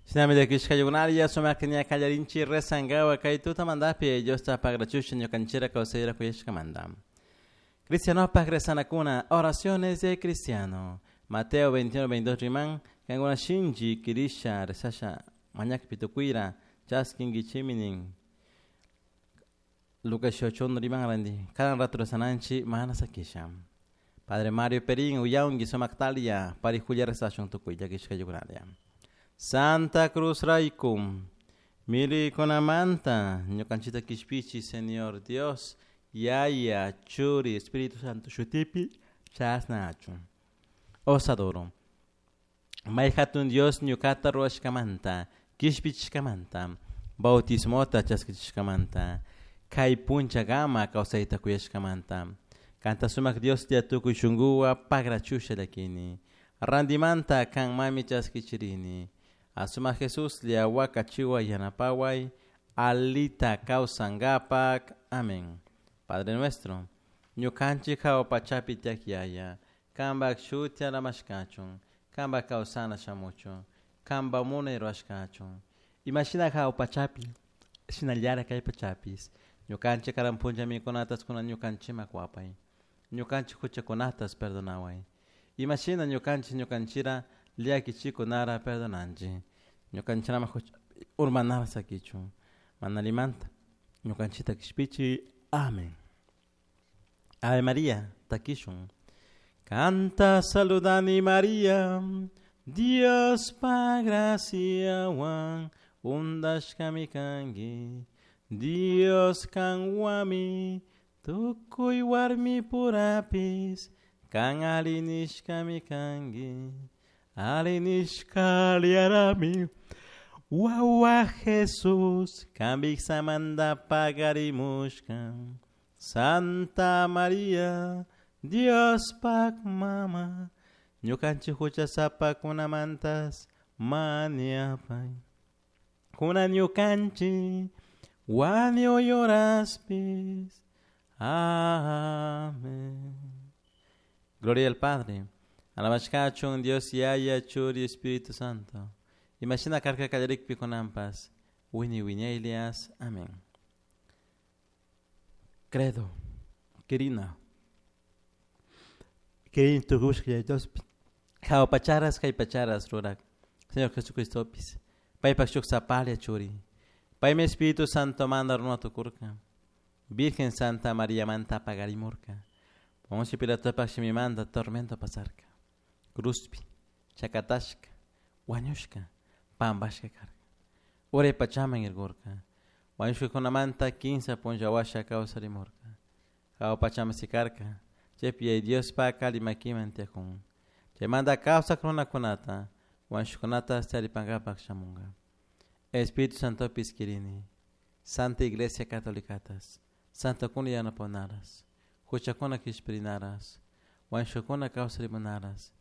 Shinami llakishkaykunalla sumakta ña kallarinchik rezankawa kay tutamantapi Diosta pagrachusha ñukanchira kawsayra kuyashkamanta. Cristianopak rezanakuna, oraciones de cristiano. Mateo 21, 22 riman, kankuna shinchi kirisha rezasha mañakpi tukuyra chaskinkichimi nin. Lucas 8 riman randi, cada rato rezananchi mana sakisha. Padre Mario Perín, uyaungi sumaktalia, parijulla rezashun tukuy llakishkaykunalla. Santa Cruz Raikum, milikunamanta, ñukanchita kishpichi, Señor Dios, Yaya, Churi, Espíritu Santo, shutipi, chasna achun. Osadoro. May hatun Dios ñukata ruwashkamanta, kishpichishkamanta, bautismota chaskichishkamanta, kay punchakama kawsayta kuyashkamanta. Kanta sumak Dioslla tukuy shunkuwa pagrachusha llakini. Randimanta kanmami chaskichirini. Asumak Jesuslla wakachiwa yanapaway, alita kawsankapak. Amén. Padre nuestro, ñukanchik hawa pachapi tiyak yaya, kanpak shuti alamashkachun, kanpak kawsana shamuchun, kanpak munay rurashkachun. Imashina hawa pachapi, shinallara kay pachapis, ñukanchik karan punlla mikunatas kunan ñukanchikman kuwapay. Ñukanchik huchakunatas perdonaway. Imashina ñukanchik ñukanchira llakichikunara perdonanchik. Ñukanchirama huchapi urmanara sakichun. Mana allimanta ñukanchikta kishpichi. Amén. Ave María, takishun. Kanta saludani María, Dios pa graciawan undashkami kanki. Dios kanwami tukuy warmi purapis kan alli nishkami kanki. Alli nishka aliyarami wawa Jesús kanpik samanta pagarimushka. Santa María, Diospak mama, ñukanchik huchasapakunamantas mañapay. Kunan ñukanchik wañuy horaspis. Amén. Gloria al Padre. Alabashkachun Dios Yaya, Churi, Espíritu Santo. Imashina karka kallarikpi kunanpas. Wini wiñaylias. Amén. Credo. Quirina. Quirin tukushka Yaya Diospi. Hawa pacharas kay pacharas rurak. Señor Jesucristopis. Paypak shuk sapalla churi. Paymi Espíritu Santo manda runa tukurka. Virgen Santa María manta pagarimurka. Poncio Pilatopak shimimanta tormento pasarka. Cruzpi, chakatashka, wañushka, pampashka karka. Uray pachaman irkurka. Wañushkakunamanta kinsa punlla washa kawsarimurka. Hawa pachaman sikarka. Chaypi Yaya Diospak alli makiman tiyakun. Chaymanta kawsak runakunata, wañushkakunata charipankapak shamunka. Espíritu Santopis kirini. Santa Iglesia Catolicatas. Santokuna yanaponaras. Huchakuna kishpirinaras. Wañushkakuna kawsarimunaras.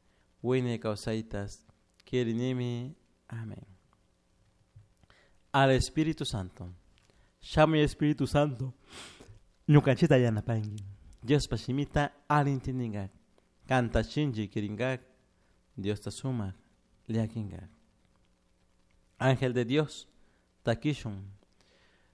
Wiñay kawsaytas. Kirinimi. Amén. Al Espíritu Santo. Shamuy Espíritu Santo. Ñukanchita yanapanki. Diospa shimita alli Kanta shinchi kirinkak. Diosta sumak llakinkak. Ángel de Dios, takishun.